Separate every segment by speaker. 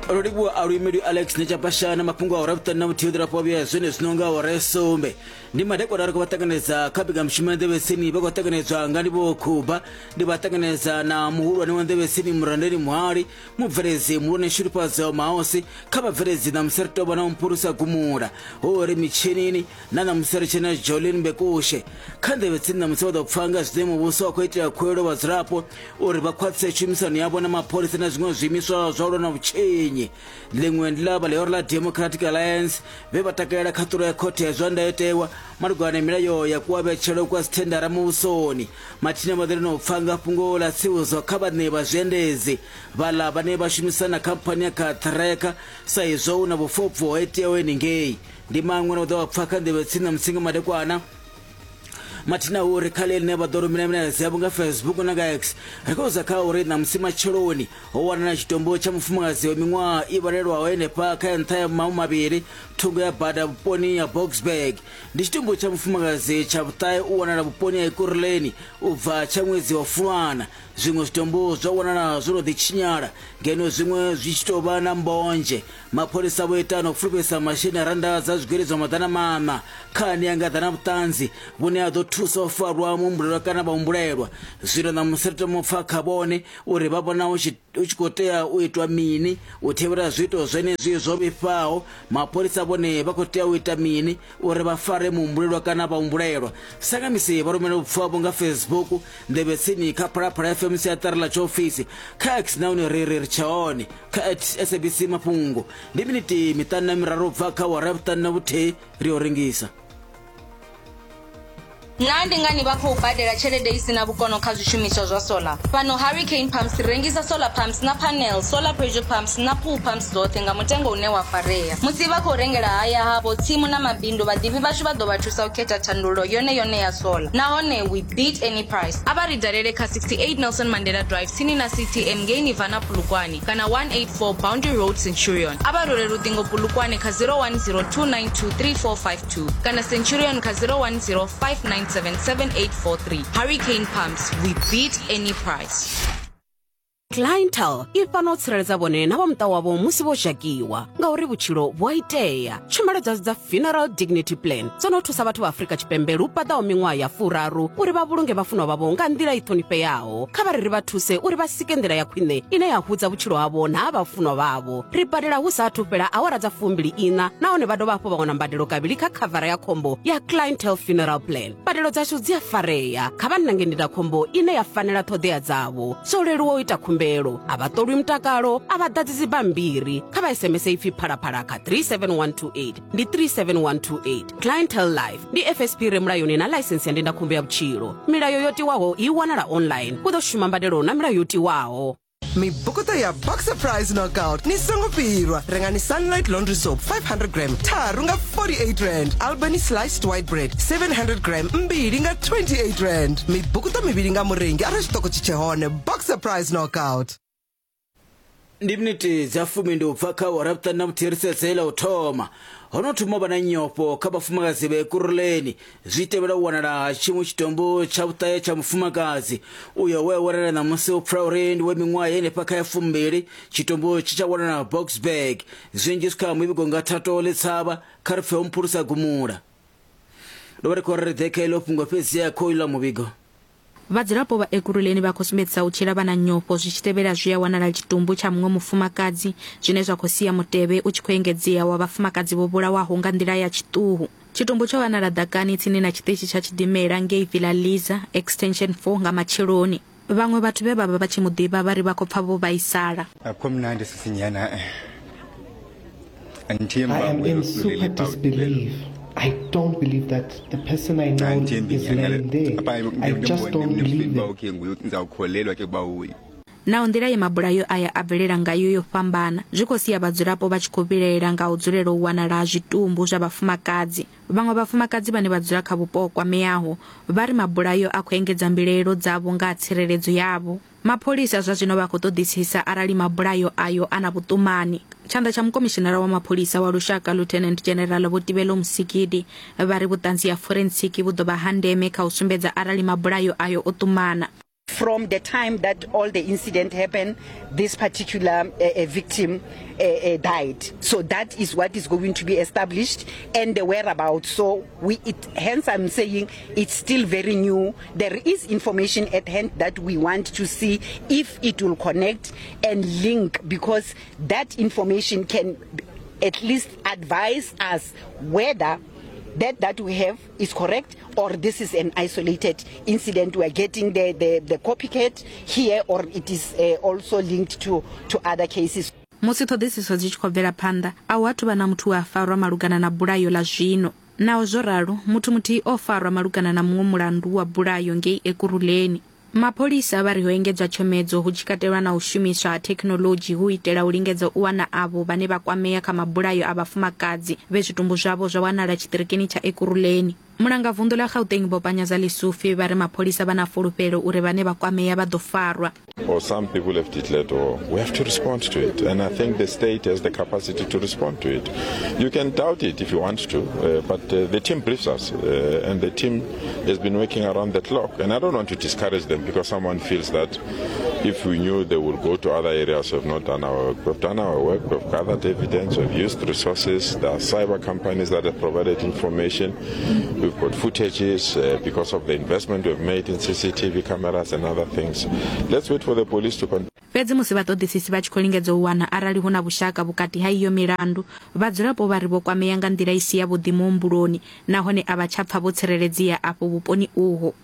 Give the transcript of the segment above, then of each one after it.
Speaker 1: Ro livhuwa a luimeli Alex Nechapashana mafhungo a ura vhuṱanu na vhuthihi ḓirafho vhuya zwene zwino nga awara ya sumbe. Ndi madekwana ri khou vha ṱanganedza kha mbekamishumo ya Nḓevhetsini, vha khou ṱanganedzwa nga Ndivhuwo Khuba. Ndi vha ṱanganedza na muhulwane wa Nḓevhetsini Murandeli Muhali, mubveledzi muhulwane Shudufhadzo Mahosi, kha vhabveledzi ṋamusi ri tou vha na Mphulusa Gumula, ho ri mitshinini na ṋamusi ri tshena Jolin Mbekushe. Kha Nḓevhetsini ṋamusi vha ḓo pfa nga zwine muvhuso wa khou itela khuwelelo vhadzulapo uri vha khwaṱhise tshumisano yavho na mapholisa na zwiṅwe zwiimiswa zwa u lwa na vhutshinyi. Ḽiṅwe ndi ḽa vha ḽihoro ḽa Democratic Alliance vhe vha takalela khaṱulo ya khothe ya zwa ndayotewa malugana na milayo ya kuavhetshelo kwa dzithendara muvhusoni. Mathina vha ḓo lina u pfa nga fhungo ḽa tsivhudzo kha vhaṋe vha zwiendedzi vhaḽa vhane vha shumisana na khamphani ya Cartracker sa izwo hu na vhufobvu ho iteaho henengei. Ndi maṅwe na u ḓo vha pfa kha nḓevhe tsini na mutsinga madekwana. Mathina uri kha ḽine vha ḓo rumela milaedza yavho nga Facebook na nga X. Ri khou za kha uri ṋamusi matsheloni ho wanala tshitumbu tsha mufumakadzi wa miṅwaha i vhalelwaho henefha kha ya nṱha ya mahumavhili thungo ya bada vhuponi ha Boksburg. Ndi tshitumbu tsha mufumakadzi tsha vhuṱahe u wanala vhuponi ha Ekurhuleni u bva tsha ṅwedzi wa Fulwana. Zwiṅwe zwitumbu zwo wanala zwo no ḓi tshinyala ngeno zwiṅwe zwi tshi tou vha na mbonzhe. Mapholisa vho ita na u fulufhedzisa masheleni a rannda dza zwigwili zwa 400 kha ane a nga ḓa na vhuṱanzi vhune ha ḓo thusa u farwa muhumbulelwa kana vhahumbulelwa. Zwino ṋamusi ri tama u pfa kha vhone uri vha vhona hu tshi khou tea u itwa mini u thivhela zwiito zwenezwi zwo vhifhaho. Mapholisa vhone vha khou tea u ita mini uri vha fare muhumbulelwa kana vhahumbulelwa. Sa nga misi vha rumela vhupfiwa havho nga Facebook, nḓevhe tsini kha Phalaphala FM siaṱari ḽa tshiofisi, kha X nahone ri ri ri tshe hone kha at SABC Mafhungo. Ndi miniti miṱanu na miraru u bva kha awara ya vhuṱanu na vhuthihi ri yo rengisa.
Speaker 2: Naa ndi ngani vha khou badela tshelede i si na vhukono kha zwishumiswa zwa solar? Fhano Hurricane Pumps ri rengisa solar pumps na panels, solar pressure pumps na pool pumps dzoṱhe nga mutengo une wa farea. Musi vha khou rengela haya havho, tsimu na mabindu, vhaḓivhi vhashu vha ḓo vha thusa u khetha thandululo yone yone ya solar. Nahone we beat any price. A vha ri dalele kha 68 Nelson Mandela Drive tsini na CTM ngei Nirvana Polokwane kana 184 Boundary Road Centurion. A vha rwele luṱingo Polokwane kha 0102923452 kana Centurion kha 0105977843. Hurricane Pumps, we beat any price.
Speaker 3: Clientele i fhano u tsireledza vhone na vha muṱa wavho musi vho zhakiwa ngauri vhutshilo vhu a itea. Tshumelo dzashu dza Funeral Dignity Plan dzo no thusa vhathu vha Afrika Tshipembe lu paḓaho miṅwaha ya furaru uri vha vhulunge vhafunwa vhavho nga nḓila i ṱhonifheaho. Kha vha ri ri vha thuse uri vha sike nḓila ya khwine ine ya hudza vhutshilo havho na ha vhafunwa vhavho. Ri badela hu sa athu fhela awara dza fumbili iṋa nahone vha dovha hafhu vha wana mbadelo kavhili kha khavara ya khombo ya Clientele Funeral Plan. Mbadelo dzashu dzi a farea. Kha vha nange ndindakhombo ine ya fanela ṱhoḓea dzavho. Zwo leluwa u ita khumbelo. A vha ṱolwi mutakalo, a vha ḓadzi dzibammbiri. Kha vha SMS ipfi Phalaphala kha 37128. Ndi 37128. Clientele Life ndi FSP re mulayoni na ḽaisensi ya ndindakhombo ya vhutshilo. Milayo yo tiwaho i wanala online. Hu ḓo shuma mbadelo na milayo yo tiwaho.
Speaker 4: Mibukuṱo ya Boxer Prize Knockout ni songo fhirwa. Rengani Sunlight Laundry Soap 500 gram tharu nga 48 rand, Albany Sliced White Bread 700 gram mbili nga 28 rand. Mibukuṱo mivhili nga murengi arali tshiṱoko tshi tshe hone. Boxer Prize Knockout.
Speaker 1: Ndi miniti dza fumi ndi u bva kha awara vhuṱanu na vhuthihi ri sedze ḽa u thoma. Ho no thoma u vha na nyofho kha vhafumakadzi vha Ekurhuleni zwi tevhela u wanala ha tshiṅwe tshitumbu tsha vhuṱahe tsha mufumakadzi uyo we a wanala ṋamusi u pfula uri ndi we miṅwaha henefha kha ya fumbili. Tshitumbu tshi tsha wanala Boksburg. Zwinzhi zwi kha muvhigo nga Thato Letshavha kha ri pfe ho Mphulusa Gumula. Ndo vha ri khou ri ri ḓe kha iḽo fhungo fhedzi ya khou iḽa muvhigo.
Speaker 5: Vhadzulapo vha Ekurhuleni vha khou sumbedzisa u tshila vha na nyofho zwi tshi tevhela zwe ya wanala tshitumbu tsha muṅwe mufumakadzi zwine zwa khou sia mutevhe u tshi khou engedzea wa vhafumakadzi vho vhulawaho nga nḓila ya tshiṱuhu. Tshitumbu tsho wanala ḓakani tsini na tshiṱitshi tsha tshidimela ngei Villa Liza, Extension 4 nga matsheloni. Vhaṅwe vhathu vhe vha vha vha tshi mu ḓivha vha ri vha khou pfa vho vhaisala.
Speaker 6: Akukho mnandi sisinyana eh. Andithembi
Speaker 7: I
Speaker 6: uba
Speaker 7: am
Speaker 6: nguye
Speaker 7: in
Speaker 6: lo sulele
Speaker 7: super
Speaker 6: pha
Speaker 7: disbelief. I don't believe that the person I know
Speaker 6: Andithembi
Speaker 7: is
Speaker 6: nyana
Speaker 7: laying there.
Speaker 6: apha
Speaker 7: I just don't believe
Speaker 6: uba
Speaker 7: it.
Speaker 6: okay nguye ndizawukholelwa ke uba uye.
Speaker 5: Naho nḓila ye mabulayo aya a bvelela ngayo yo fhambana, zwi khou sia vhadzulapo vha tshi khou vhilaela nga u dzulela u wanala ha zwitumbu zwa vhafumakadzi. Vhaṅwe vhafumakadzi vhane vha dzula kha vhupo ho kwameaho vha ri mabulayo a khou engedza mbilaelo dzavho nga ha tsireledzo yavho. Mapholisa zwa zwino vha khou ṱoḓisisa arali mabulayo ayo a na vhuṱumani. Tshanḓa tsha mukomishinara wa mapholisa wa lushaka Lieutenant General Vho Tibelo Musikidi vha ri vhuṱanzi ha forensikhi vhu ḓo vha ha ndeme kha u sumbedza arali mabulayo ayo o ṱumana.
Speaker 8: From the time that all the incident happened, this particular uh, uh, victim uh, uh, died. So that is what is going to be established and the whereabouts. So we, it, hence I'm saying it's still very new. There is information at hand that we want to see if it will connect and link, because that information can at least advise us whether that that we have is correct or this is an isolated incident. We are getting the, the, the copycat here or it is uh, also linked to, to other cases.
Speaker 5: Musi ṱhoḓisiso dzi tshi khou bvela phanḓa, a hu athu vha na muthu we a farwa malugana na bulayo ḽa zwino. Naho zwo ralo, muthu muthihi o farwa malugana na muṅwe mulandu wa bulayo ngei Ekurhuleni. Mapholisa vha ri ho engedzwa tshomedzo hu tshi katelwa na u shumiswa ha thekhinoḽodzhi hu u itela u lingedza u wana avho vhane vha kwamea kha mabulayo a vhafumakadzi vhe zwitumbu zwavho zwa wanala tshiṱirikini tsha Ekurhuleni. Mulangavunḓu ḽa Gauteng Vho Panyaza Lesufi vha ri mapholisa vha na fulufhelo uri vhane vha kwamea vha ḓo farwa.
Speaker 9: Or some people have declared war. We have to respond to it, and I think the state has the capacity to respond to it. You can doubt it if you want to, uh, but uh, the team briefs us, uh, and the team has been working around the clock. And I don't want to discourage them because someone feels that if we knew they would go to other areas, we've not done our work. We've done our work, we've gathered evidence, we've used resources. There are cyber companies that have provided information. We've got footages uh, because of the investment we've made in CCTV cameras and other things. Let's wait for the police to continue.
Speaker 5: Fhedzi musi vhaṱoḓisisi vha tshi khou lingedza u wana arali hu na vhushaka vhukati ha iyo milandu, vhadzulapo vha ri vho kwamea nga nḓila i si yavhuḓi muhumbuloni nahone a vha tsha pfa vho tsireledzea afho vhuponi uho.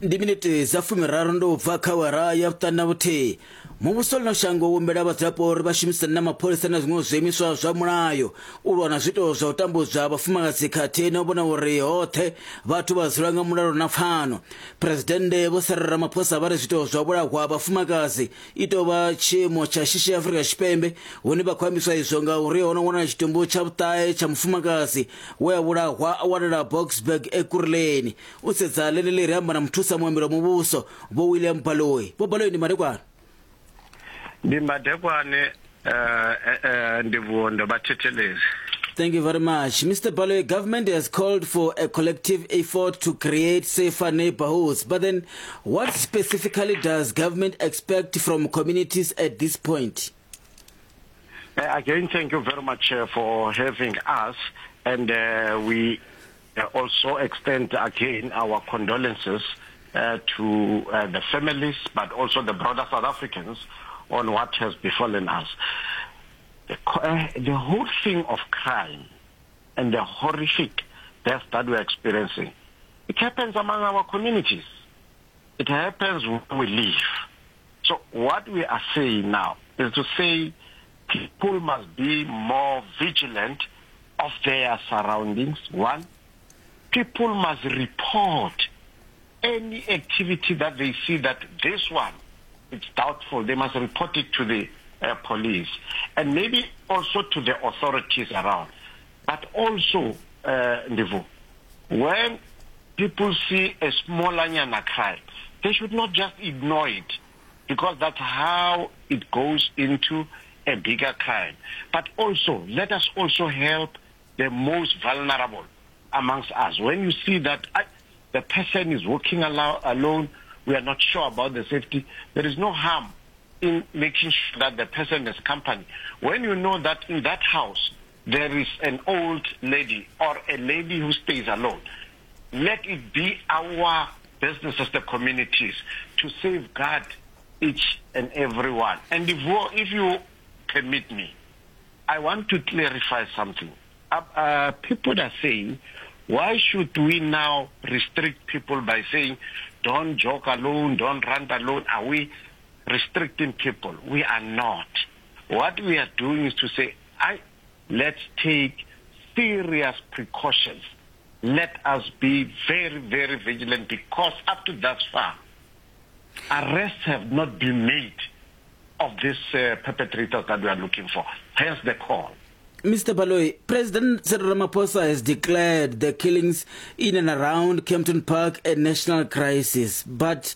Speaker 1: Ndi minete dza fumiraru ndo bva kha awara ya vhuṱanu na vhuthihi. Muvhuso ḽino shango wo humbela vhadzulapo uri vha shumisane na mapholisa na zwiṅwe zwiimiswa zwa mulayo u lwa na zwiito zwa u tambudzwa vhafumakadzi khathihi na u vhona uri hoṱhe vhathu vha dzula nga mulalo na pfano. Phresidennde Vho Cyril Ramaphosa vha ri zwiito zwa u vhulahwa ha vhafumakadzi i tou vha tshiimo tsha shishi Afrika Tshipembe hune vha khou ambiswa izwo ngauri ho no wanala tshitumbu tsha vhuṱahe tsha mufumakadzi we a vhulahwa a wanala Boksburg Ekurhuleni. U sedza ḽeneḽi ri amba na muthusa muambeli wa muvhuso Vho William Baloyi. Vho Baloyi ndi madekwana.
Speaker 10: Ndi madekwane eh, eh, ndivhuwo ndo vha thetshelezi.
Speaker 1: Thank you very much. Mr. Baloyi, government has called for a collective effort to create safer neighborhoods. But then, what specifically does government expect from communities at this point?
Speaker 10: Uh, again, thank you very much uh, for having us. And uh, we uh, also extend again our condolences uh, to uh, the families, but also the broader South Africans on what has befallen us. The, uh, the whole thing of crime and the horrific death that we're experiencing, it happens among our communities. It happens where we live. So what we are saying now is to say people must be more vigilant of their surroundings. One, people must report any activity that they see that this one it's doubtful. They must report it to the uh, police and maybe also to the authorities around. But also, uh, Ndivu, when people see a small anyana crime, they should not just ignore it because that's how it goes into a bigger crime. But also, let us also help the most vulnerable amongst us. When you see that I, the person is walking alo- alone, we are not sure about the safety, there is no harm in making sure that the person is company. When you know that in that house there is an old lady or a lady who stays alone, let it be our business as the communities to safeguard each and every one. And if, if you permit me, I want to clarify something. Uh, uh, people are saying, why should we now restrict people by saying, don't jog alone, don't run alone? Are we restricting people? We are not. What we are doing is to say, I, let's take serious precautions. Let us be very, very vigilant because up to thus far, arrests have not been made of these uh, perpetrators that we are looking for. Hence the call.
Speaker 1: Mr. Baloyi, President Cyril Ramaphosa has declared the killings in and around Kempton Park a national crisis. But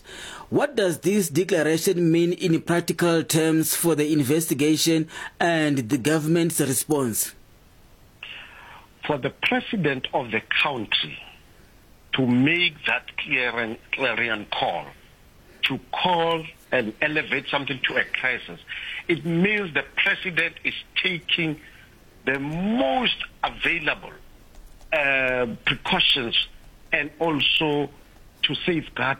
Speaker 1: what does this declaration mean in practical terms for the investigation and the government's response?
Speaker 10: For the president of the country to make that clarion, clarion call to call and elevate something to a crisis, it means the president is taking the most available uh, precautions and also to safeguard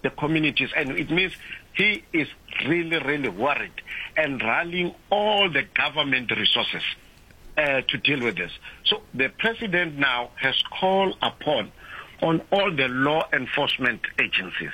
Speaker 10: the communities. And it means he is really, really worried and rallying all the government resources uh, to deal with this. So the president now has called upon on all the law enforcement agencies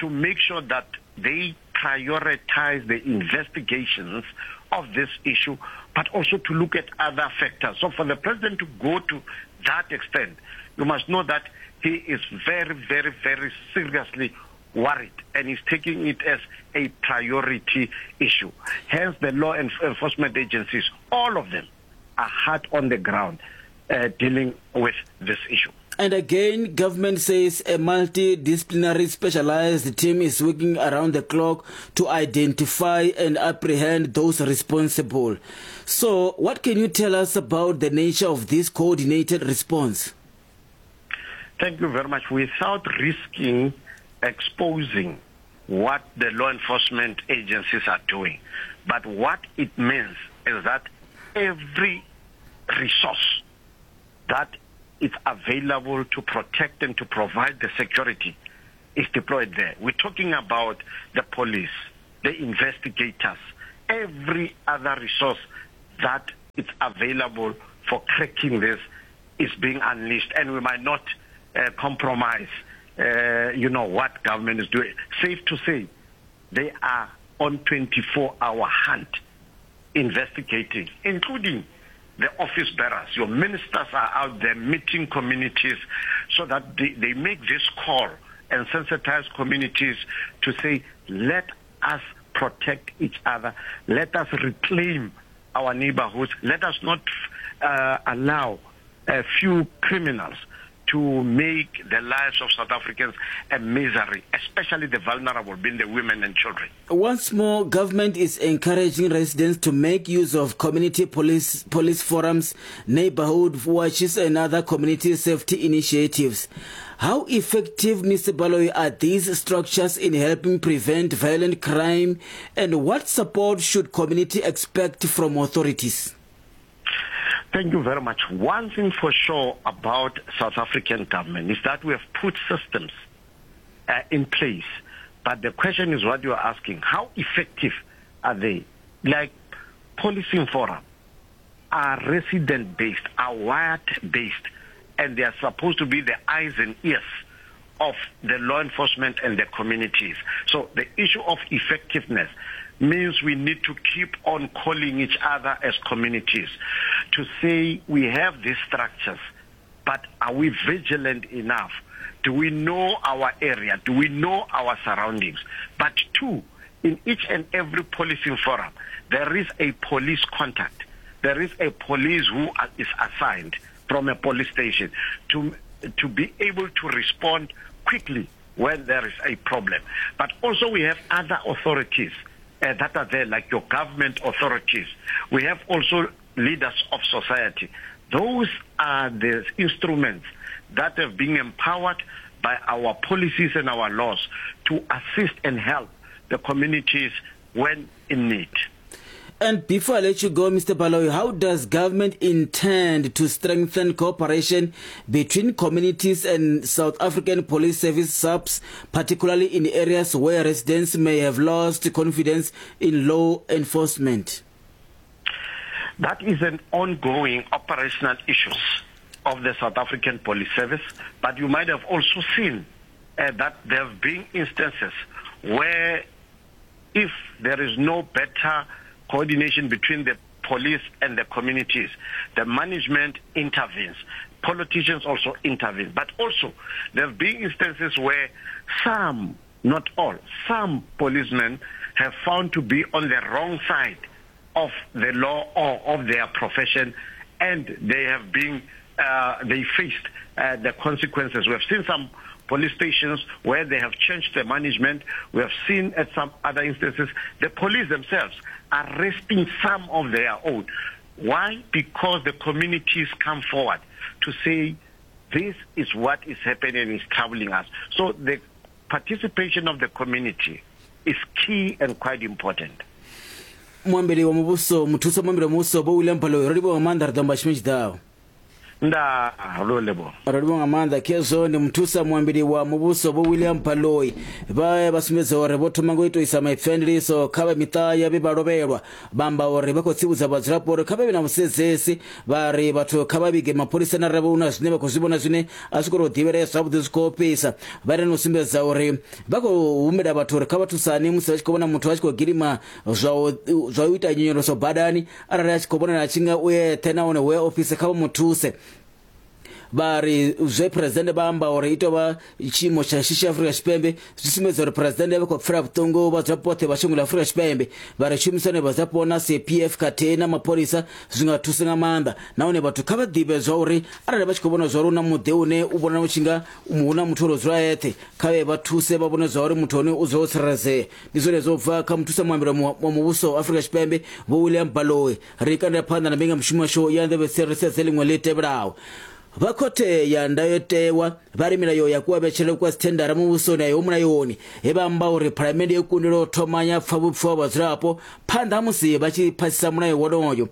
Speaker 10: to make sure that they prioritize the investigations of this issue, but also to look at other factors. So for the president to go to that extent, you must know that he is very, very, very seriously worried and is taking it as a priority issue. Hence, the law enforcement agencies, all of them, are hard on the ground uh, dealing with this issue.
Speaker 1: And again, government says a multidisciplinary specialized team is working around the clock to identify and apprehend those responsible. So, what can you tell us about the nature of this coordinated response?
Speaker 10: Thank you very much. Without risking exposing what the law enforcement agencies are doing, but what it means is that every resource that is available to protect and to provide the security is deployed there. We're talking about the police, the investigators, every other resource that is available for cracking this is being unleashed, and we might not uh, compromise, uh, you know, what government is doing. Safe to say, they are on 24-hour hunt, investigating, including the office bearers. Your ministers are out there meeting communities so that they, they make this call and sensitize communities to say, let us protect each other. Let us reclaim our neighborhoods. Let us not uh, allow a few criminals to make the lives of South Africans a misery, especially the vulnerable, being the women and children.
Speaker 1: Once more, government is encouraging residents to make use of community police, police forums, neighborhood watches, and other community safety initiatives. How effective, Mr. Baloyi, are these structures in helping prevent violent crime, and what support should community expect from authorities?
Speaker 10: Thank you very much. One thing for sure about South African government is that we have put systems uh, in place. But the question is what you are asking. How effective are they? Like policing forum are resident based, are wired based, and they are supposed to be the eyes and ears of the law enforcement and the communities. So the issue of effectiveness means we need to keep on calling each other as communities to say we have these structures, but are we vigilant enough? Do we know our area? Do we know our surroundings? But two, in each and every policing forum, there is a police contact. There is a police who is assigned from a police station to, to be able to respond quickly when there is a problem. But also we have other authorities uh, that are there, like your government authorities. We have also leaders of society. Those are the instruments that have been empowered by our policies and our laws to assist and help the communities when in need.
Speaker 1: And before I let you go, Mr. Baloyi, how does government intend to strengthen cooperation between communities and South African Police Service SAPS, particularly in areas where residents may have lost confidence in law enforcement?
Speaker 10: That is an ongoing operational issue of the South African Police Service, but you might have also seen uh, that there have been instances where if there is no better coordination between the police and the communities. The management intervenes. Politicians also intervene. But also, there have been instances where some, not all, some policemen have found to be on the wrong side of the law or of their profession, and they have been, uh, they faced uh, the consequences. We have seen some police stations where they have changed the management. We have seen at some other instances the police themselves arresting some of their own. Why? Because the communities come forward to say this is what is happening is troubling us. So the participation of the community is key and quite important.
Speaker 1: Muambeli wa muvhuso, muthusa muambeli wa muvhuso Vho William Baloyi, ro livhuwa nga maanḓa, ri ḓo amba tshifhinga tshi ḓaho.
Speaker 10: Ndaa, ro livhuwa.
Speaker 1: Ro livhuwa nga maanḓa. Khezwo ndi muthusa muambeli wa muvhuso Vho William Baloyi vha vha sumbedza uri vho thoma nga u tou isa maipfi a ndiliso kha vha miṱa ya vhe vha lovhelwa. Vha amba uri vha khou tsivhudza vhadzulapo uri kha vha vhe na vhusedzesi, vha ri vhathu kha vha vhige mapholisani arali hu na zwine vha khou zwi vhona zwine a zwi khou tou ḓivhelea zwavhuḓi zwi khou ofhisa. Vha ita na u sumbedza uri vha khou humbela vhathu uri kha vha thusane musi vha tshi khou vhona muthu a tshi khou gidima zwa u zwa u ita nyonyoloso badani arali a tshi khou vhonala a tshi nga u eṱhe nahone hu a ofhisa kha vha mu thuse. Vha ri zwe Phresidennde vha amba uri i tou vha tshiimo tsha shishi Afrika Tshipembe zwi sumbedza uri Phresidennde vha khou pfela vhuṱungu vhadzulapo vhoṱhe vha shango ḽa Afrika Tshipembe. Vha ri tshumisano ya vhadzulapo na CPF khathihi na mapholisa zwi nga thusa nga maanḓa nahone vhathu kha vha ḓivhe zwa uri arali vha tshi khou vhona zwa uri hu na muḓi une u vhonala u tshi nga hu na muthu o dzula eṱhe kha vhe vha thuse vha vhone zwa uri muthu hone u dzula o tsireledzea. Ndi zwone zwo bva kha muthusa muambeli wa muvhuso wa Afrika Tshipembe Vho William Baloyi. Ri kandela phanḓa na mbekanyamushumo yashu ya nḓevhe ri sedze ḽiṅwe ḽi tevhelaho. Vha khothe ya ndayotewa vha ri milayo ya kuavhetshele kwa dzithendara muvhusoni a iho mulayoni, he vha amba uri phalamennde yo kundelwa u thoma ya pfa vhupfiwa ha vhadzulapo phanḓa ha musi vha tshi phasisa mulayo wonoyo.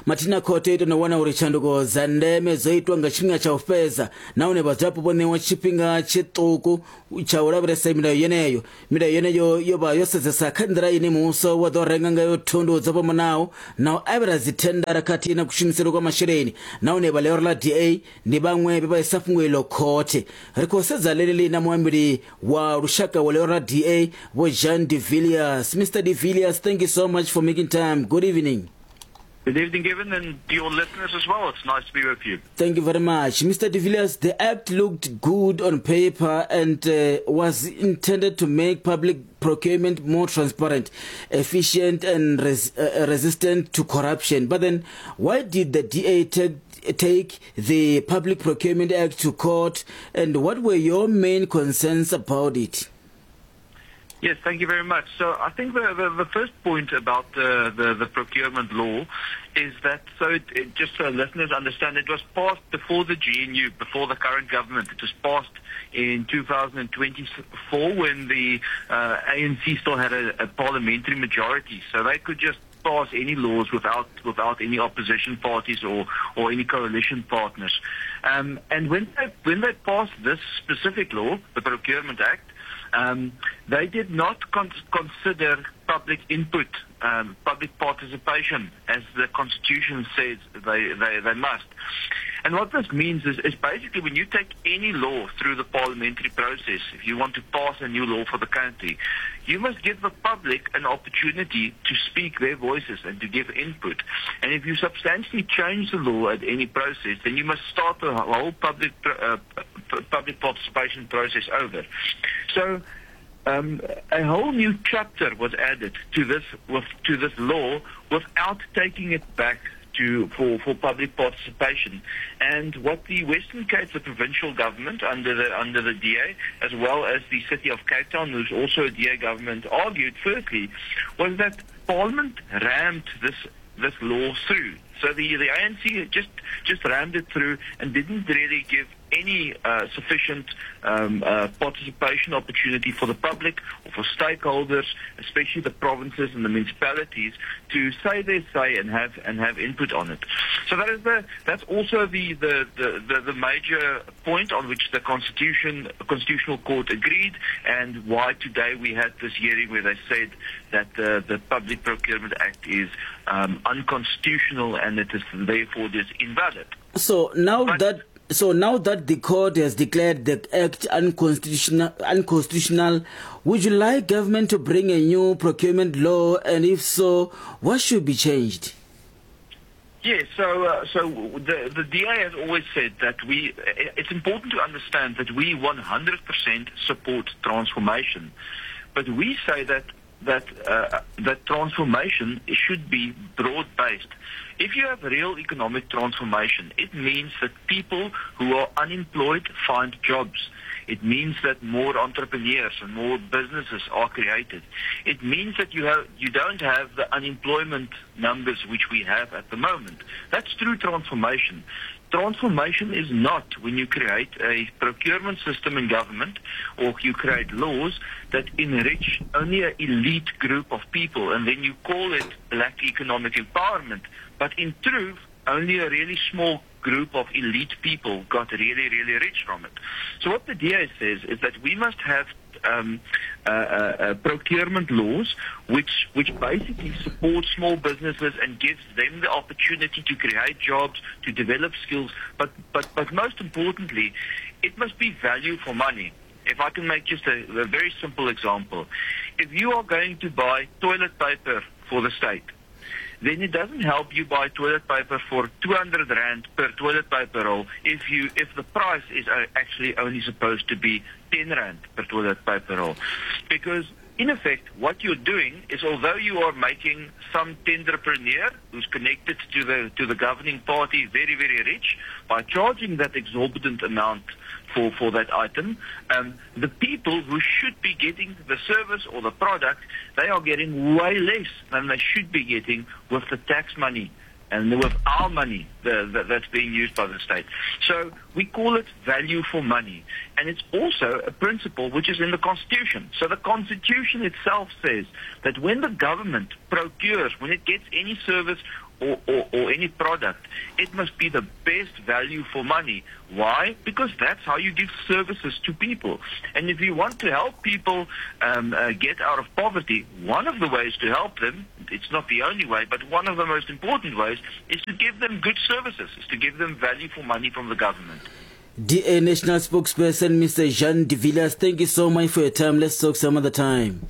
Speaker 1: Mathina khothe i tou wana uri tshanduko dza ndeme dzo itwa nga tshifhinga tsha u fhedza nahone vhadzulapo vho ṋewa tshifhinga tshiṱuku tsha u lavhelesa milayo yeneyo. Milayo yeneyo yo vha yo sedzesa kha nḓila ine muvhuso wa ḓo renga ngayo thundu dzo fhambanaho na u avhela dzithendara khathihi na kushumisele kwa masheleni nahone vha ḽihoro ḽa DA ndi vhaṅwe vhe vha isa fhungo iḽo khothe. Ri khou sedza ḽeneḽi na muambeli wa lushaka wa ḽihoro ḽa DA Vho Jean de Villiers. Mr de Villiers, thank you so much for making time. Good evening.
Speaker 11: Good evening, Gavin, and to your listeners as well. It's nice to be with you.
Speaker 1: Thank you very much. Mr. De Villiers, the act looked good on paper and was intended to make public procurement more transparent, efficient and resistant to corruption. But then, why did the DA take the Public Procurement Act to court, and what were your main concerns about it?
Speaker 11: Yes, thank you very much. So I think the first point about the procurement law is that, just so listeners understand, it was passed before the GNU, before the current government. It was passed in 2024 when the ANC still had a parliamentary majority. So they could just pass any laws without any opposition parties or any coalition partners. And when they passed this specific law, the Procurement Act, they did not consider public input, public participation, as the Constitution says they must. And what this means is basically when you take any law through the parliamentary process, if you want to pass a new law for the country, you must give the public an opportunity to speak their voices and to give input. And if you substantially change the law at any process, then you must start the whole public participation process over. So a whole new chapter was added to this law without taking it back for public participation. And what the Western Cape, the provincial government under the DA, as well as the city of Cape Town, who's also a DA government, argued firstly, was that Parliament rammed this law through. So the ANC just rammed it through and didn't really give any sufficient participation opportunity for the public or for stakeholders, especially the provinces and the municipalities, to say their say and have input on it. So that's also the major point on which the Constitutional Court agreed, and why today we had this hearing where they said that the Public Procurement Act is unconstitutional and it is therefore invalid.
Speaker 1: So now that the court has declared the act unconstitutional, would you like government to bring a new procurement law, and if so, what should be changed?
Speaker 11: Yes, so the DA has always said that it's important to understand that we 100% support transformation, but we say that transformation should be broad-based. If you have real economic transformation, it means that people who are unemployed find jobs. It means that more entrepreneurs and more businesses are created. It means that you don't have the unemployment numbers which we have at the moment. That's true transformation. Transformation is not when you create a procurement system in government or you create laws that enrich only an elite group of people and then you call it black economic empowerment. But in truth, only a really small group of elite people got really, really rich from it. So what the DA says is that we must have um, uh, uh, uh, procurement laws which which basically support small businesses and gives them the opportunity to create jobs, to develop skills, but but but most importantly, it must be value for money. If I can make just a, a very simple example, if you are going to buy toilet paper for the state, then it doesn't help you buy toilet paper for 200 rand per toilet paper roll if you if the price is uh, actually only supposed to be 10 rand per toilet paper roll because in effect what you're doing is although you are making some tenderpreneur who's connected to the to the governing party very very rich by charging that exorbitant amount for, for that item. Um, the people who should be getting the service or the product, they are getting way less than they should be getting with the tax money and with our money the, the, that's being used by the state. So we call it value for money. And it's also a principle which is in the Constitution. So the Constitution itself says that when the government procures, when it gets any service or, or, or any product, it must be the best value for money. Why? Because that's how you give services to people. And if you want to help people um, uh, get out of poverty, one of the ways to help them, it's not the only way, but one of the most important ways, is to give them good services, is to give them value for money from the government.
Speaker 1: DA National Spokesperson Mr. Jean de Villiers, thank you so much for your time. Let's talk some other time.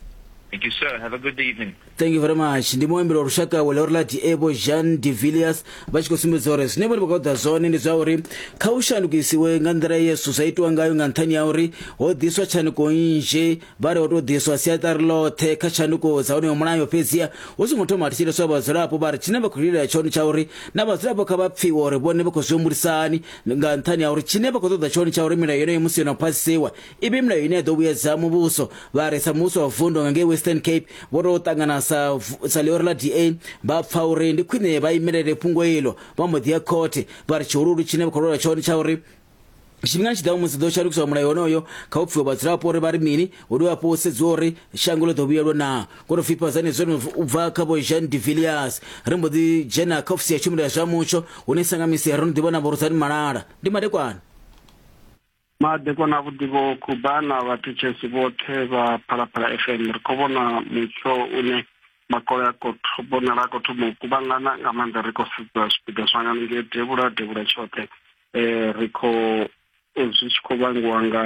Speaker 11: Thank you, sir. Have a good evening.
Speaker 1: Thank you very much. Ndi muambeli wa lushaka wa ḽihoro ḽa DA Vho Jean de Villiers vha tshi khou sumbedza uri zwine vhone vha khou ṱoḓa zwone ndi zwa uri kha u shandukisiwe nga nḓila ye zwithu zwa itiwa ngayo nga nṱhani ha uri ho ḓiswa tshanduko nnzhi vha ri ho tou ḓiswa siaṱari ḽoṱhe kha tshanduko dza honoyo mulayo fhedziha hu songo thoma ha thetsheleswa vhadzulapo vha ri tshine vha khou lilela tshone tsha uri na vhadzulapo kha vha pfiwe uri vhone vha khou zwi humbulisani nga nṱhani ha uri tshine vha khou ṱoḓa tshone tsha uri milayo yeneyo musi yo no phasisiwa i vhe milayo ine ya ḓo vhuyedza muvhuso vha ri sa muvhuso wa vundu nga ngei Western Cape vho tou ṱangana sa sa ḽihoro ḽa DA vha pfa uri ndi khwine vha imelele fhungo iḽo vha mbo ḓi ya khothe vha ri tshihululu tshine vha khou lwela tshone tsha uri tshifhingani tshi ḓaho musi ḓo shandukiswa mulayo wonoyo kha u pfiwa vhadzulapo uri vha ri mini hu dovhe hafhu hu sedziwe uri shango ḽo ḓo vhuyelwa naa kono pfifha zwenezwo u bva kha vho Jean de Villiers ri mbo ḓi dzhena kha ofisi ya tshumelo ya zwa mutsho hune sangamisi ro no ḓi vhona vho Rudzani Malala ndi madekwana
Speaker 12: Madekwana avhuḓi vho Khuba na vhathetshelesi vhoṱhe vha Phalaphala FM. Ri khou vhona mutsho une makole a khou vhonala a khou thoma u kuvhangana nga maanḓa ri khou sedza zwipiḓa zwa nga ngei devhula devhula tshoṱhe. Ri khou zwi tshi khou vhangiwa nga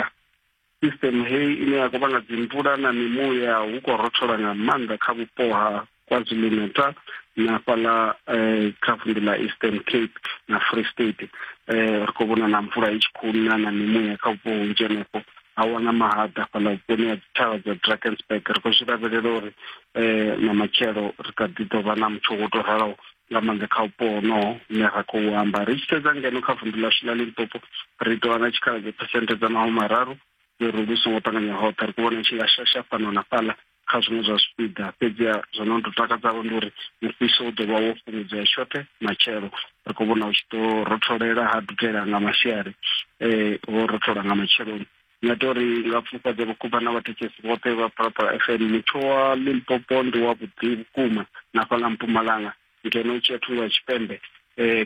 Speaker 12: System heyi ine ya khou vhanga dzimvula na mimuya hu khou rothola nga maanḓa kha vhupo ha KwaZulu-Natal na fhaḽa eh, kha vunḓu ḽa Eastern Cape na Free State. Eh, ri khou vhona na mvula i tshi khou na na mimuya kha vhupo hunzhi henefho ha wana mahaḓa fhaḽa vhuponi ha dzithavha dza Drakensberg. Ri khou zwi lavhelela uri eh, na matshelo ri kha ḓi ḓo vha na mutsho wo tou raloho nga maanḓa kha vhupo honoho hune ra khou amba. Ri tshi sedza ngeno kha vunḓu ḽashu ḽa Limpopo ri tou vha na tshikhala dza phesenthe dza mahumimararu uri lu songo ṱanganya hoṱhe. Ri khou vhona tshi nga shasha fhano na fhaḽa kha zwiṅwe zwa zwipiḓa, fhedziha zwo no tou takadzaho ndi uri mufhiso u ḓo vha wo fhungudzea tshoṱhe matshelo. Ri khou vhona hu tshi ḓo rotholela ha dudela nga masiari, ho rothola nga matsheloni. Ndi nga tou ri nga pfufhadza vhukuma na vhathetshelesi vhoṱhe vha Phalaphala FM. Mutsho wa Limpopo ndi wavhuḓi vhukuma na fhaḽa Mpumalanga ngeno u tshi ya thungo ya tshipembe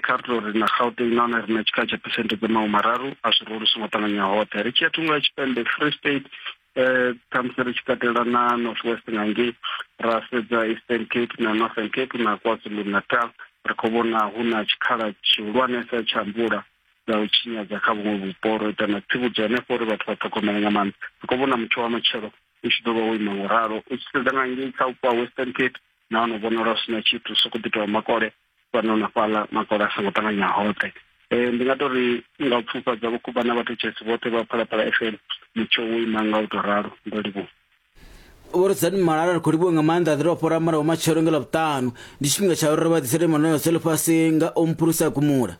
Speaker 12: kha ri tou ri na Gauteng nahone ri na tshikhala tsha phesenthe dza mahumararu a zwi lu songo ṱanganya hoṱhe. Ri tshi ya thungo ya tshipembe Free State khamusi ri tshi katela na North West nga ngei ra sedza Eastern Cape na Northern Cape na KwaZulu Natal ri khou vhona hu na tshikhala tshihulwanesa tsha mvula dza u tshinyadza kha vhuṅwe vhupo. Ro ita na tsivhudzo hanefho uri vhathu vha ṱhogomele nga maanḓa. Ri khou vhona mutsho wa matshelo u tshi ḓo vha wo ima ngo ralo. U tshi sedza nga ngei kha vhupo ha Western Cape nahone u vhonala hu si na tshithu, sokou ḓi tovha makole fhano na fhaḽa, makole a songo ṱanganya hoṱhe. Ndi nga tou ri nga u pfufhadza Vho Khuba na vhathetshelesi vhoṱhe vha Phalaphala FM, mutsho wo ima nga u tou ralo. Ndo livhuwa.
Speaker 1: Vho Rudzani Malala ri khou livhuwa nga maanḓa ḓi tou fhora murahu matshelo nga Ḽavhuṱanu. Ndi tshifhinga tsha uri ri vha ḓisele manoyo dza ḽifhasi nga Ompulusa Gumula.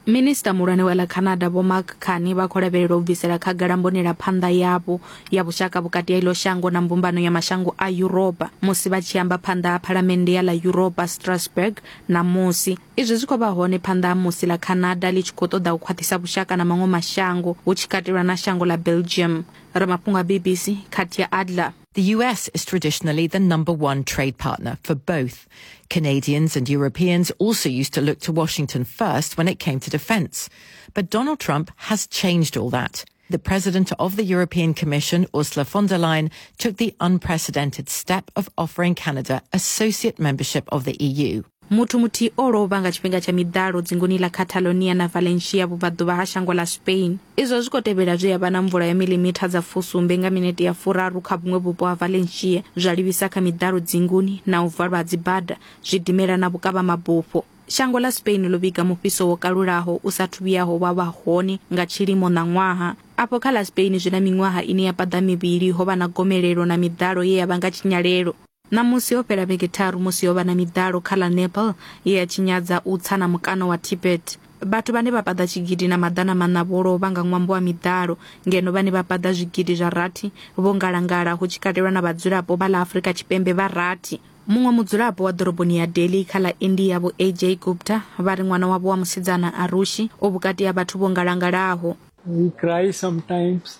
Speaker 5: Minisṱa Minisiṱa muhulwane wa ḽa Canada Vho Mark Carney vha khou lavhelelwa u bvisela khagala mbonelaphanḓa yavho ya vhushaka vhukati ha iḽo shango na mbumbano ya mashango a Yuropa musi vha tshi amba phanḓa ha phalamennde ya ḽa Yuropa Strasbourg ṋamusi. Izwi zwi khou vha hone phanḓa ha musi ḽa Canada ḽi tshi khou ṱoḓa u khwaṱhisa vhushaka na maṅwe mashango hu tshi katelwa na shango ḽa Belgium. Ramafhungo a BBC Katya Adler.
Speaker 13: The US is traditionally the number one trade partner for both. Canadians and Europeans also used to look to Washington first when it came to defense. But Donald Trump has changed all that. The president of the European Commission, Ursula von der Leyen, took the unprecedented step of offering Canada associate membership of the EU.
Speaker 5: Muthu muthihi o lovha nga tshifhinga tsha miḓalo dzinguni ḽa Catalonia na Valencia vhubvaḓuvha ha shango ḽa Spain. Izwo zwi khou tevhela zwe ya vha na mvula ya miḽimitha dza fusumbe nga minete ya furaru kha vhuṅwe vhupo ha Valencia, zwa livhisa kha miḓalo dzinguni na u valwa ha dzibada, zwidimela na vhukavhamabufho. Shango ḽa Spain ḽo vhiga mufhiso wo kalulaho u sa athu vhuyaho wa vha hone nga tshilimo ṋaṅwaha. Afho kha ḽa Spain zwi na miṅwaha ine ya paḓa mivhili ho vha na gomelelo na miḓalo ye ya vhanga tshinyalelo. Ṋamusi ho fhela vhege tharu musi ho vha na miḓalo kha ḽa Nepal ye ya tshinyadza u tsa na mukano wa Tibet. Vhathu vhane vha paḓa tshigidi na maḓana maṋa vho lovha nga ṅwambo wa miḓalo, ngeno vhane vha paḓa zwigidi zwa rathi vho ngalangala hu tshi katelwa na vhadzulapo vha ḽa Afrika Tshipembe vha rathi. Muṅwe mudzulapo wa ḓoroboni ya Delhi kha ḽa India Vho AJ Gupta vha ri ṅwana wavho wa musidzana Arushi u vhukati ha vhathu vho ngalangalaho.
Speaker 14: We cry sometimes,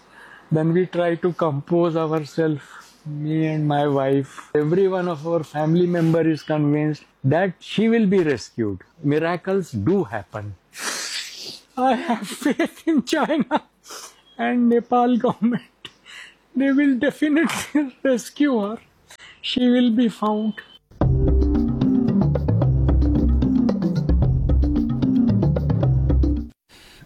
Speaker 14: then we try to compose ourselves, me and my wife. Every one of our family member is convinced that she will be rescued. Miracles do happen. I have faith in China and Nepal government. They will definitely rescue her. She will be found.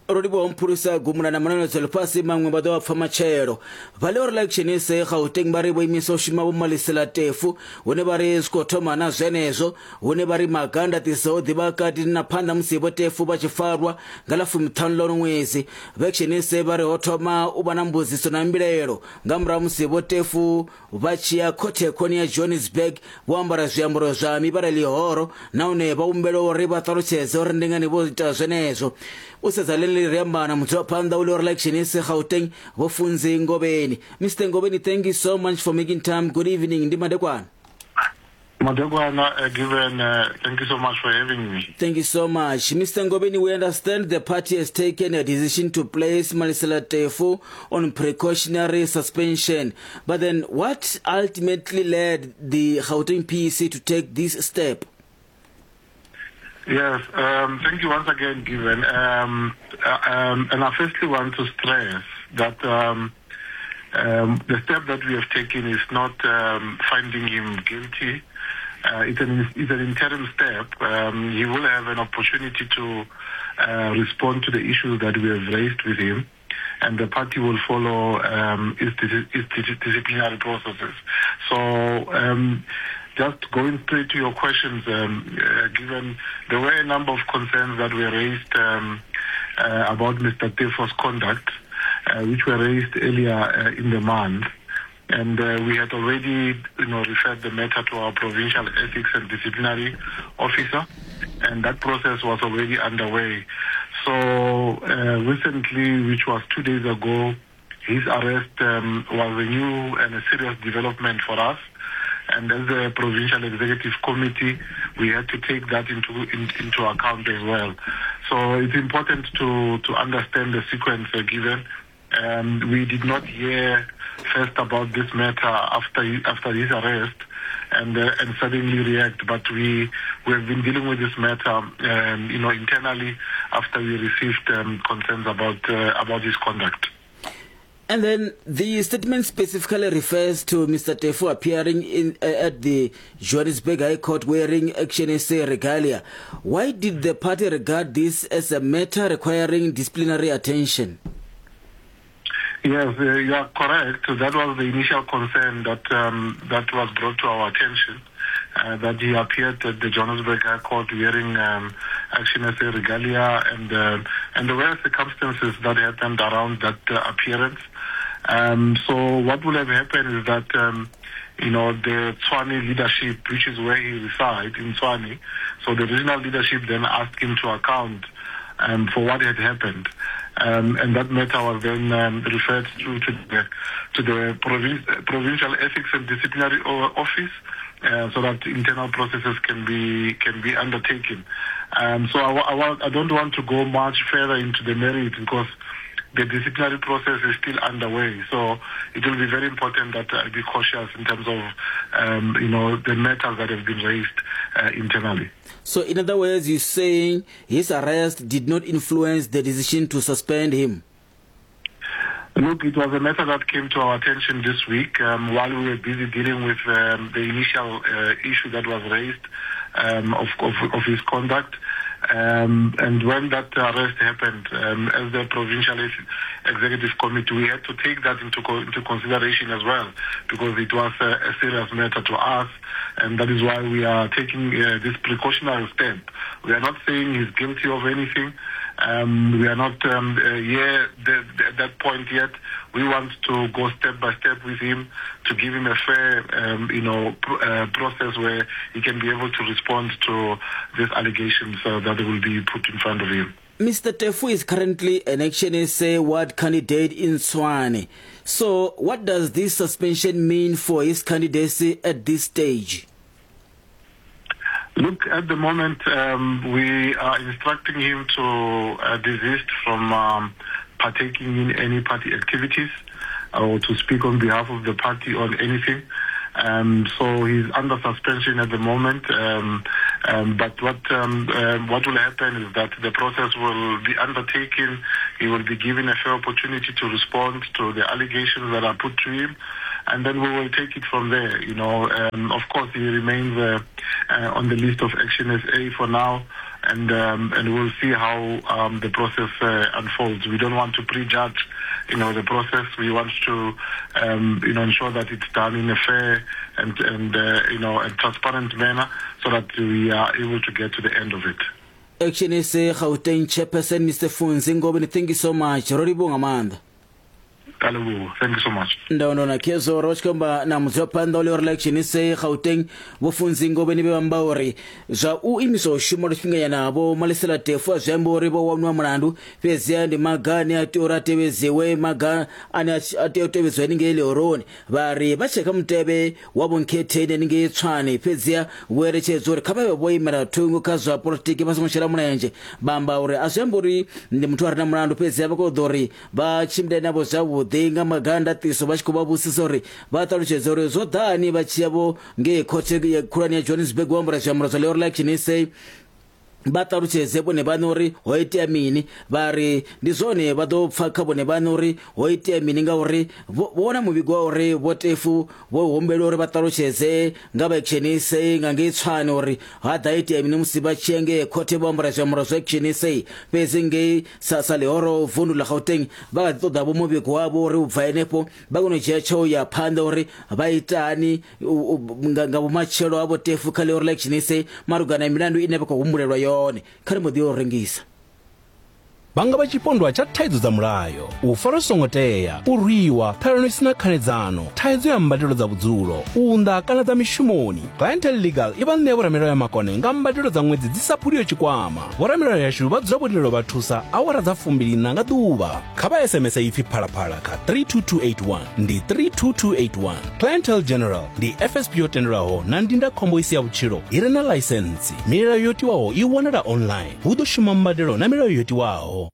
Speaker 1: Ro livhuwa mphulusa gumula na mananetso ḽifhasi maṅwe vha ḓo vha pfa matshelo. Vha ḽi uri Action SA Gauteng vha ri vho imisa u shuma vho malisela tefu hune vha ri zwi khou thoma na zwenezwo hune vha ri maga ndaṱiso o ḓivha kati na phanḓa musi vho tefu vha tshi farwa nga ḽa fumiṱhanu ḽa uno ṅwedzi. Vha Action SA vha ri ho thoma u vha na mbudziso na mbilaelo nga murahu musi vho tefu vha tshi ya khothe khoni ya Johannesburg vho ambara zwiambaro zwa mivhala ḽihoro nahone vha humbelwa uri vha ṱalutshedze uri ndi ngani vho ita zwenezwo. U sedza ḽeneḽi ri amba na mudzulaphanḓa wa ḽihoro ḽa Action SA Gauteng Vho Funzi Ngovheni. Mr Ngovheni, thank you so much for making time. Good evening. Ndi madekwana.
Speaker 15: Madekwana, given, thank you so much for having me.
Speaker 1: Thank you so much. Mr. Ngobeni, we understand the party has taken a decision to place Malesela Teffo on precautionary suspension. But then what ultimately led the Gauteng PEC to take this step?
Speaker 15: Yes, thank you once again, Given. And I firstly want to stress that the step that we have taken is not finding him guilty. It's an interim step. He will have an opportunity to respond to the issues that we have raised with him, and the party will follow its disciplinary processes. So just going straight to your questions, given there were a number of concerns that were raised about Mr. Teffo's conduct, which were raised earlier in the month. And we had already, referred the matter to our provincial ethics and disciplinary officer, and that process was already underway. So recently, which was 2 days ago, his arrest was a new and a serious development for us. And as the provincial executive committee, we had to take that into account as well. So it's important to understand the sequence given. We did not hear first about this matter after his arrest and suddenly react, but we have been dealing with this matter, internally after we received concerns about his conduct.
Speaker 1: And then the statement specifically refers to Mr. Teffo appearing at the Johannesburg High Court wearing Action SA regalia. Why did the party regard this as a matter requiring disciplinary attention?
Speaker 15: Yes, you are correct. That was the initial concern that was brought to our attention, that he appeared at the Johannesburg High Court wearing Action SA regalia, and there were circumstances that happened around that appearance. So what will have happened is that the Tshwane leadership, which is where he resides in Tshwane, so the regional leadership then asked him to account um, for what had happened. Um, and that matter was then um, referred to, to the, to the province, Provincial Ethics and Disciplinary Office uh, so that internal processes can be can be undertaken. Um, so I, I, I don't want to go much further into the merit because the disciplinary process is still underway. So it will be very important that I be cautious in terms of, um, you know, the matters that have been raised uh, internally.
Speaker 1: So in other words, you're saying his arrest did not influence the decision to suspend him?
Speaker 15: Look, it was a matter that came to our attention this week um, while we were busy dealing with um, the initial uh, issue that was raised um, of, of, of his conduct. Um, and when that arrest happened, um, as the provincial executive committee, we had to take that into, co into consideration as well, because it was a, a serious matter to us, and that is why we are taking uh, this precautionary step. We are not saying he's guilty of anything. Um, we are not um, uh, yeah, the, the, at that point yet. We want to go step by step with him to give him a fair, um, you know, pr uh, process where he can be able to respond to these allegations uh, that will be put in front of him.
Speaker 1: Mr. Tefu is currently an Action SA ward candidate in Tshwane. So, what does this suspension mean for his candidacy at this stage?
Speaker 15: Look, at the moment, um, we are instructing him to uh, desist from um, partaking in any party activities or to speak on behalf of the party on anything. Um, so he's under suspension at the moment. Um, um, but what um, um, what will happen is that the process will be undertaken. He will be given a fair opportunity to respond to the allegations that are put to him, and then we will take it from there. You know, um, of course, he remains uh, uh, on the list of Action SA for now and um, and we'll see how um, the process uh, unfolds. We don't want to prejudge, you know, the process. We want to, um, you know, ensure that it's done in a fair and and uh, you know and transparent manner, so that we are able to get to the end of it.
Speaker 1: Action SA Gauteng chairperson Mr Funzi Ngobeni, thank you so much. Ro livhuwa nga maanḓa.
Speaker 15: Ka leboha. Thank you so much.
Speaker 1: Ndo na khezwo ro tshi khou amba na mudzulaphanḓa wa ḽihoro ḽa Action SA Gauteng Vho Funzi Ngobeni vhe vha amba uri zwa u imiswa u shuma lwa tshifhinganyana Vho Malesela Teffo a zwi ambi uri vho wanwa mulandu fhedziha ndi maga ane a tea uri a tevhedziwe maga ane a tea u tevhedziwa haningei ḽihoroni vha ri vha tshe kha mutevhe wa vhonkhetheni haningei Tshwane fhedziha vho eletshedzwa uri kha vha vhe vho imela thungo kha zwa polotiki vha songo shela mulenzhe vha amba uri a zwi ambi uri ndi muthu a re na mulandu fhedziha vha khou ḓo uri vha tshimbile navho zwavhuḓi nga maga a ndaṱiso vha tshi khou vha vhudzisa uri vha ṱalutshedze uri zwo ḓani vha tshi ya vho ngei khothe ya khulwane ya Johannesburg vho ambara zwiambaro zwa ḽihoro ḽa Action SA vha ṱalutshedze vhone vhaṋe uri ho itea mini vha ri ndi zwone vha ḓo pfa kha vhone vhaṋe uri ho itea mini ngauri vho wana muvhigo wa uri vho Tefu vho humbelwa uri vha ṱalutshedze nga vha Action SA nga ngei Tshwane uri ha ḓa itea mini musi vha tshi ya ngei khothe vho ambara zwiambaro zwa Action SA fhedzi ngei sa sa ḽihoro vundu ḽa Gauteng vha kha ḓi ṱoḓa vho muvhigo wavho uri u bva henefho vha kone u dzhia tsheo ya phanḓa uri vha itani nga vhumatshelo ha vho Tefu kha ḽihoro ḽa Action SA malugana na milandu ine vha khou humbulelwa yone kha ri mbo ḓi yo rengisa.
Speaker 16: Vha nga vha tshipondwa tsha thaidzo dza mulayo, u farwa zwi songo tea, u rwiwa, ṱhalano i si na khanedzano, thaidzo ya mbadelo dza vhudzulo, u unḓa kana dza mishumoni. Clientele Legal i vha ṋea vhoramilayo makone nga mbadelo dza ṅwedzi dzi sa phuliho tshikwama. Vhoramilayo yashu vha dzula vho lindela u vha thusa awara dza fumbiliṋa nga ḓuvha. Kha vha SMS ipfi Phalaphala kha 32281 ndi 32281. Clientele General ndi FSP yo tendelwaho na ndindakhombo i si ya vhutshilo i re na ḽaisentsi. Milayo yo tiwaho i wanala online. Hu ḓo shuma mbadelo na milayo yo tiwaho.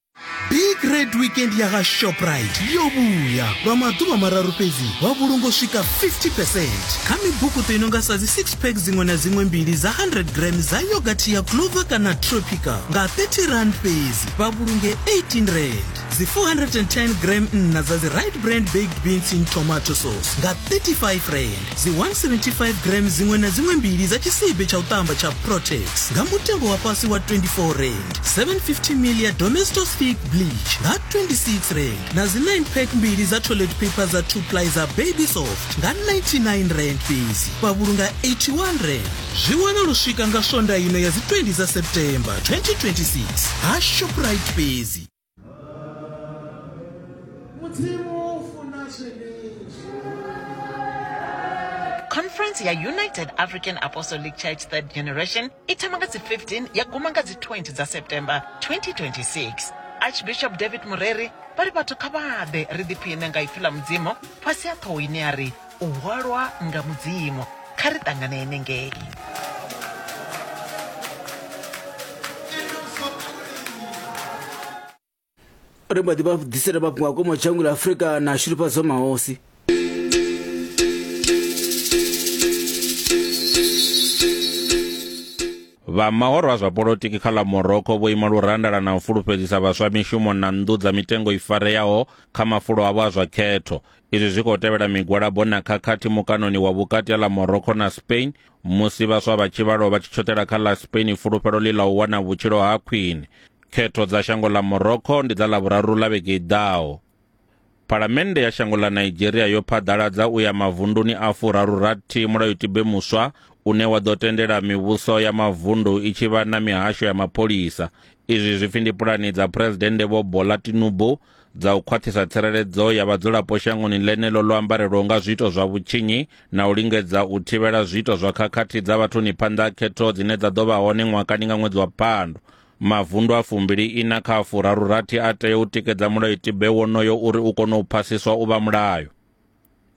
Speaker 17: Big Red Weekend ya ga Shoprite yo vhuya lwa maḓuvha mararu fhedzi vha vhulungo swika 50 percent kha mibukuṱo i no nga sa dzi 6 pack dziṅwe na dziṅwe mbili dza 100 gram dza yogathi ya Clover kana Tropical nga 30 rand fhedzi vha vhulunge 18 rand dzi 410 gram nṋa dza dzi Right Brand baked beans in tomato sauce nga 35 rand dzi 175 gram dziṅwe na dziṅwe mbili dza tshisibe tsha u ṱamba tsha Protex nga mutengo wa fhasi wa 24 rand 750 ml ya Domestos Thick Bleach nga 26 rand na dzi 9 pack mbili dza toilet paper dza 2 ply dza Baby Soft nga 99 rand fhedzi vha vhulunga 81 rand. Zwi wana lu swika nga Swondaha ino ya dzi 20 dza September 2026 ha Shoprite fhedzi.
Speaker 18: Mudzimu u funa zwenezwi. Conference ya United African Apostolic Church Third Generation i thoma nga dzi 15 ya guma nga dzi 20 dza September 2026. Archbishop David Mureri vha ri vhathu kha vha ḓe ri ḓiphine nga ipfi ḽa Mudzimu fhasi ha ṱhoho ine ya ri U hwalwa nga Mudzimu. Kha ri ṱangane henengei.
Speaker 1: Ri mbo ḓi vha ḓisela mafhungo a komo dzhango ḽa Afrika na Shilufhadzo Mahosi.
Speaker 19: Vha mahoro a zwa polotiki kha ḽa Morocco vho ima lurandala na u fulufhedzisa vhaswa mishumo na nnḓu dza mitengo i fareaho kha mafulo avho a zwa khetho. Izwi zwi khou tevhela migwalabo na khakhathi mukanoni wa vhukati ha ḽa Morocco na Spain musi vhaswa vha tshivhalo vha tshi tshoṱela kha ḽa Spain fulufhelo ḽi ḽa u wana vhutshilo ha khwine. Khetho dza shango ḽa Morocco ndi dza Ḽavhuraru ḽa vhege i ḓaho. Phalamennde ya shango ḽa Nigeria yo phaḓaladza u ya mavunduni a furaru-rathi mulayotibe muswa une wa ḓo tendela mivhuso ya mavundu i tshi vha na mihasho ya mapholisa. Izwi zwi pfi ndi pulani dza Phresidennde Vho Bola Tinubu dza u khwaṱhisa tsireledzo ya vhadzulapo shangoni ḽeneḽo ḽo ambarelwaho nga zwiito zwa vhutshinyi na u lingedza u thivhela zwiito zwa khakhathi dza vhathuni phanḓa ha khetho dzine dza ḓo vha hone ṅwakani nga ṅwedzi wa Phando. Mavundu a fumbili ina kha a furaru rathi a tea u tikedza mulayotibe wonoyo uri u kone u phasiswa u vha mulayo.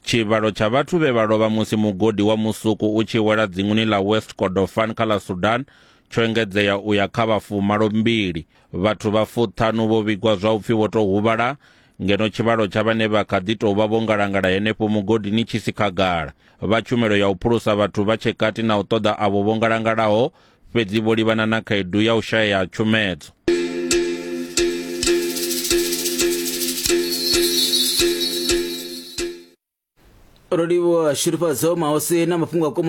Speaker 19: Tshivhalo tsha vhathu vhe vha lovha musi mugodi wa musuku u tshi wela dzinguni ḽa West Kordofan kha ḽa Sudan tsho engedzea u ya kha vha fumalo mbili. Vhathu vha fuṱhanu vho vhigwa zwa u pfi vho tou huvhala ngeno tshivhalo tsha vhane vha kha ḓi tou vha vho ngalangala henefho mugodini tshi si khagala. Vha tshumelo ya u phulusa vhathu vha tshe kati na u ṱoḓa avho vho ngalangalaho fhedzi vho livhana na khaedu ya u shayea ha tshumedzo.
Speaker 1: Ro livhuwa Shurufhadzo Mahosi na mafhungo a komo.